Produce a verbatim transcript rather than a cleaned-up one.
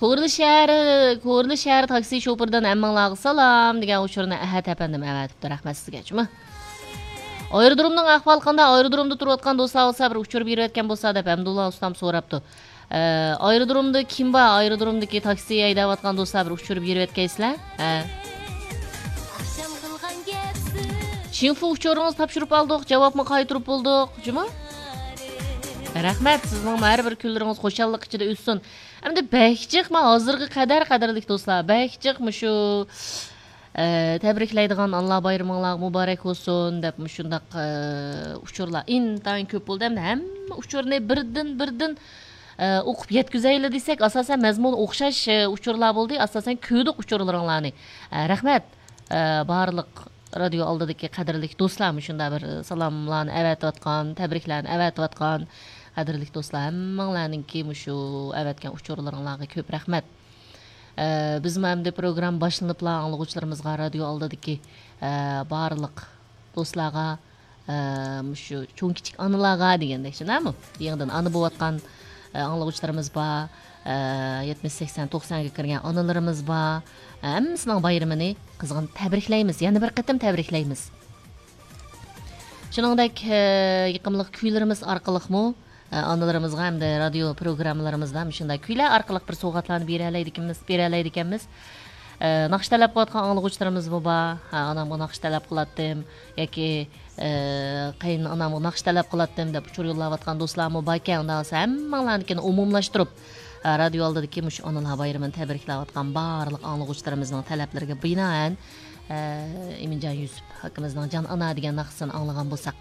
كورلا شەھىرى، كورلا شەھەر تاكسى شوپۇردىن ھەممىڭلارغا سالام دېگەن ئۇچۇرنى ئەھەت ئەپەندىم ئەۋەتىپتۇ. رەھمەت سىزگە جۇمۇ. ئايرودرومنىڭ ئەھۋالى قانداق؟ ئايرودرومدا تۇرۇۋاتقان دوستلار بولسا بىر ئۇچۇر بېرىۋەتكەن بولسا دەپ ھەمدۇللا ئۇستام سوراپتۇ. ئە، ئايرودرومدا كىم بار؟ ئايرودرومدىكى تاكسى ھەيدەۋاتقان دوستلار بىر ئۇچۇر بېرىۋەتكەيسىلەر. ھە. شىنفۇ ئۇچۇرىڭىزنى تاپشۇرۇپ ئالدۇق، جاۋابمۇ قايتۇرۇپ بولدۇق، جۇمۇ. رەھمەت، سىزنىڭ ھەر بىر كۈنلىرىڭىز خۇشاللىق ئىچىدە ئۆتسۇن. ئەمدى بەك جىق، مانا ھازىرغا قەدەر، قەدىرلىك دوستلار، بەك جىق مۇشۇ، ئە، تەبرىكلەيدىغان ئانىلار بايرىمىڭلار مۇبارەك بولسۇن دەپ مۇشۇنداق، ئە، ئۇچۇرلار ئىنتايىن كۆپ بولدى. ئەمدى ھەممە ئۇچۇرنى بىردىن، بىردىن، ئە، ئوقۇپ يەتكۈزەيلى دېسەك، ئاساسەن مەزمۇنى ئوخشاش، ئە، ئۇچۇرلار بولدى. ئاساسەن كۆردۇق ئۇچۇرلىرىڭلارنى. ئە، رەھمەت، ئە، بارلىق رادىيو ئالدىدىكى قەدىرلىك دوستلار، مۇشۇنداق بىر سالاملارنى ئەۋەتىۋاتقان، تەبرىكلەرنى ئەۋەتىۋاتقان قەدىرلىك دوستلار، ھەممىڭلارنىڭكى مۇشۇ ئەۋەتكەن ئۇچۇرلىرىڭلارغا كۆپ رەھمەت. ئە، بىزمۇ ئەمدى پروگرامما باشلىنىپلا ئاڭلىغۇچىلىرىمىزغا، رادىيو ئالدىدىكى، ئە، بارلىق دوستلارغا، ئە، مۇشۇ چوڭ كىچىك ئانىلارغا دېگەندەك، شۇنداقمۇ؟ يېڭىدىن ئانا بولۇۋاتقان، ئە، ئاڭلىغۇچىلىرىمىز بار، ئە، يەتمىش، سەكسەن، توقسانغا كىرگەن ئانىلىرىمىز بار. ھەممىسىنىڭ بايرىمىنى قىزغىن تەبرىكلەيمىز، يەنە بىر قېتىم تەبرىكلەيمىز. شۇنىڭدەك، ئە، يېقىملىق كۈيلىرىمىز ئارقىلىقمۇ، ئە، ئانىلىرىمىزغا ھەمدە رادىيو پروگراممىلىرىمىزدا مۇشۇنداق كۈيلەر ئارقىلىق بىر سوۋغاتلارنى بېرەلەيدىكەنمىز، بېرەلەيدىكەنمىز. ئە، ناخشا تەلەپ قىلىۋاتقان ئاڭلىغۇچىلىرىمىزمۇ بار. ھە، ئانامغا ناخشا تەلەپ قىلاتتىم ياكى، ئە، قېيىن ئانامغا ناخشا تەلەپ قىلاتتىم دەپ ئۇچۇر يوللاۋاتقان دوستلارمۇ باركەن. ئۇنداق بولسا ھەممىڭلارنىڭكىنى ئومۇملاشتۇرۇپ، ئە، رادىيو ئالدىدىكى مۇشۇ ئانىلار بايرىمىنى تەبرىكلەۋاتقان بارلىق ئاڭلىغۇچىلىرىمىزنىڭ تەلەپلىرىگە بىنائەن، ئە، ئىمىنجان يۈسۈپ ئاكىمىزنىڭ جان ئانا دېگەن ناخشىسىنى ئاڭلىغان بولساق.